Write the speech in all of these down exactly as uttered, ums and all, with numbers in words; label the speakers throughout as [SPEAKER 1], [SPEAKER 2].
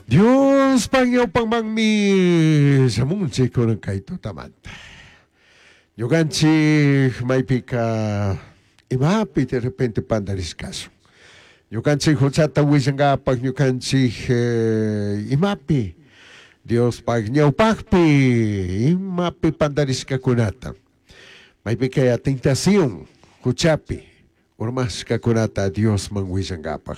[SPEAKER 1] Diospaj ñawpamanmi shamunchik kunan kay tutamanta. Ñukanchik maypika imapi de repente pandarishkasun. Ñukanchik huchata willankapak ñukanchik eh, imapi Diospaj ñawpakpi imapi pandarishkakunata. Maypika ya tentación huchapi urmashkakunata Diosman willankapak.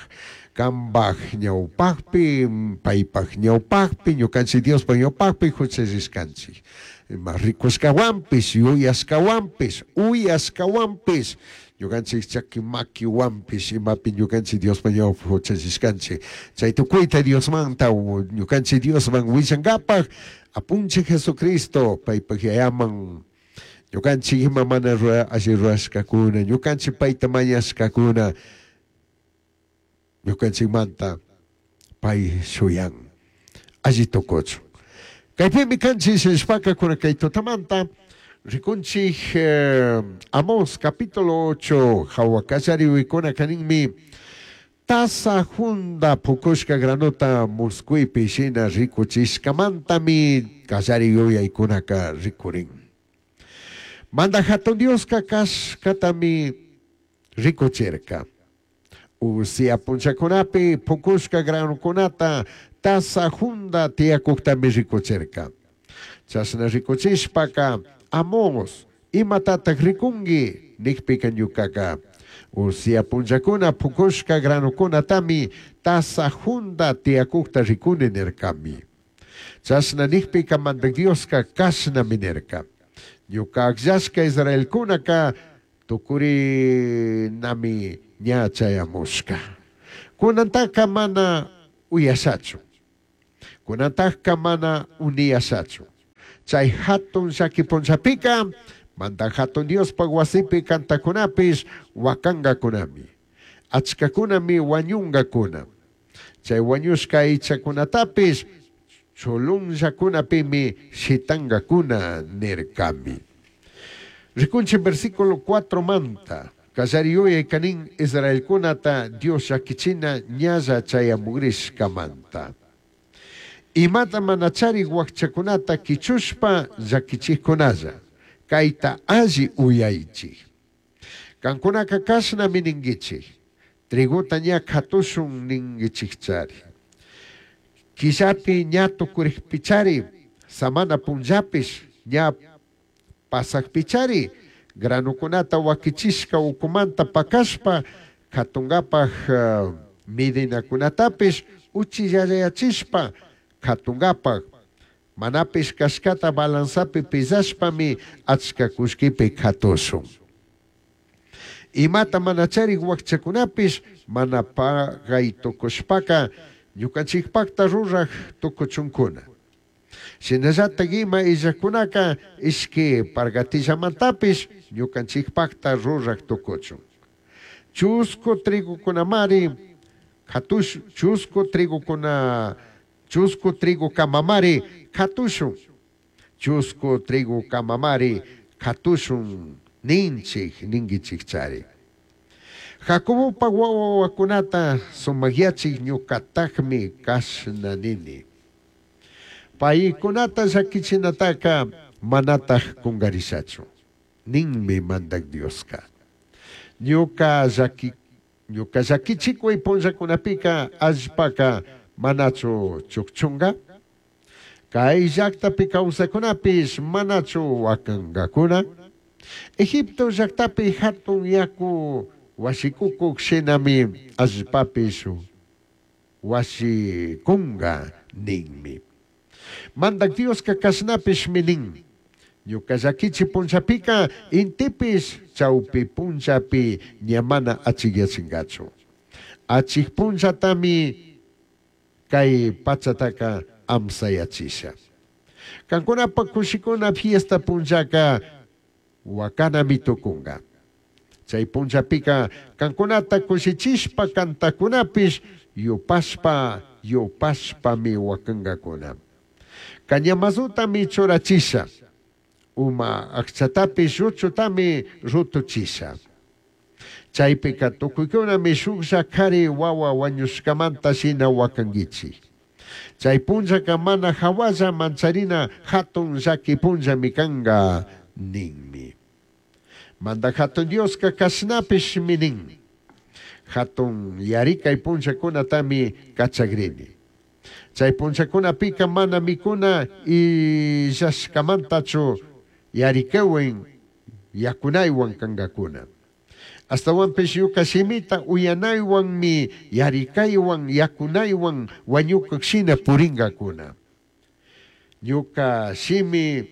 [SPEAKER 1] Kambaj ñawpakpi, paypaj ñawpakpi, ñukanchik Diospaj ñawpakpi huchallishkanchik. Ima rikushkawanpish, yuyashkawanpish, uyashkawanpish, ñukanchik chaki makiwanpish, imapi ñukanchik Diospaj ñawpakpi huchallishkanchik. Chay tukuyta Diosmanta ñukanchik Diosman willankapak, apunchik Jesucristo paypaj yayaman ñukanchik ima mana rura, alli rurashkakuna, ñukanchik payta mañashkakuna, ñukanchikmanta pay shuyan alli tukuchun. Kaypimi kanchik nishpaka kunan kay tutamanta rikunchik eh, Amós capítulo ocho hawa kallariwikuna kaninmi tasa junda pukushka granota muskuypi shina rikuchishkamantami kallari yuyaykunaka rikurin. Manda hatun Dioska kashkatami rikuchirka. Usia punchakunapi pukushka granukunata tasa junda tiyakuktami rikuchirka. Chashna rikuchishpaka Amós imatatak rikunki nikpika ñukaka usia punchakuna pukushka granukunatami tasa junda tiyakukta rikuni nirkami. Chashna nikpika Mandak Dioska kashnami nirka. Ñuka akllashka Israelkunaka tukurinami ña chayamushka. Kunantaka mana uyashachu. Kunantaka mana uniyashachu. Chay hatun llaki punchapika Mandak hatun Diospaj wasipi kantakunapish wakangakunami. Achkakunami wañungakuna. Chay wañushka aychakunatapish chulunllakunapimi shitankakuna nirkami. Rikunchik versículo cuatro manta. Kallari yuyay kanin Israelkunata Dios llakichina ñalla chayamugrishkamanta. Imata mana charik wakchakunata kichushpa llakichikkunalla. Kayta alli uyaychik. Kankunaka kashnami ninkichik. Trigota ña katushun ninkichikchari. Killapi ña tukurikpichari, samana punllapish ña pasakpichari, granukunata wakichishka ukumanta pakashpa, katunkapak uh, midinakunatapish uchillayachishpa katunkapak, manapish kashkata balanzapi pisashpami achka kullkipi katushun. Imata mana charik wakchakunapish mana pagay tukushpaka ñukanchikpakta ruraj tukuchunkuna. Shinallatak ima illakunaka ishki pargatillamantapish ñukanchikpakta ruraj tukuchun. Chusku trigukunamari katush, chusku trigukuna, chusku trigo kamamari katushun. Chusku trigo kamamari katushun ninchik ninkichikchari. Jacobopa wawakunata sumakyachik ñukatakmi kashna nini. Paykunata llakichinataka manataj kungarishachu. Ninmi mandak Dioska. Ñuka llaki, ñuka llakichikuy punllakunapika allpaka manachu chukchunga. Kay llaktapi kawsakunapish manachu wakankakuna. Egipto llaktapi hatun yaku washikukuk shinami allpapish washikunga ninmi. Mandak Dioska kashnapishmi nin. Ñuka llakichi punchapika intipish chawpi punchapi ña mana achikyachinkachu. Achik punchatami kay pachataka amsayachisha. Kankunapa kushikuna fiesta punchaka wakanami tukunga. Chay punchapika kankunata kushichishpa kantakunapish yupashpa yupashpami wakankakuna. Cañamazutami churachisha. Uma akchatapish ruchutami rutuchisha. Chaypika tukuykunami shuklla kari wawa wañushkamanta shina wakankichik. Chay punllaka mana jahualla mancharina jatun llaqui punllami canga ninmi. Mandaj Jatun Dioska cashnapishmi nin. Jatun yarikay punllakunatami kachagrini. Chay punllakunapika mana mikuna illashkamantachu yarikaywan yakunaywan kankakuna. Astawanpish ñuka shimita uyanaywanmi yarikaywan yakunaywan wañukuk shina purinkakuna. Ñuka shimi,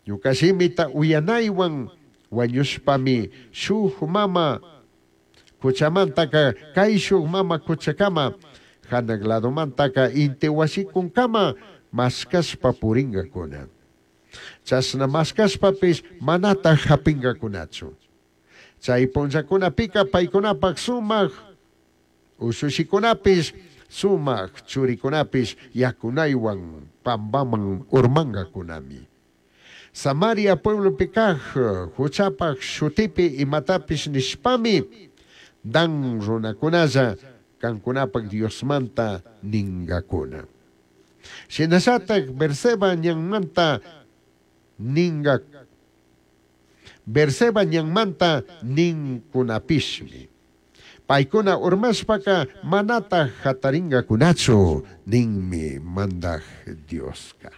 [SPEAKER 1] ñuka shimita uyanaywan wañushpami shuk mama kuchamantaka kayshuk mama kuchakama hanaq ladomantaka inti wasikunkama mashkashpa purinkakuna. Chashna mashkashpapish manataj hapinkakunachu. Chay punllakunapika paykunapak sumak ushushikunapish sumak churikunapish yakunaywan pampaman urmankakunami. Samaria pueblopi kaj huchapak shutipi imatapish nishpami Dan runakunalla kankunapak Diosmanta ninkakuna. Shinallatak Berseba ñanmanta ninga Berseba ñanmanta ninkunapishmi. Paykuna urmashpaka manataj hatarinkakunachu ninmi mandaj Dioska.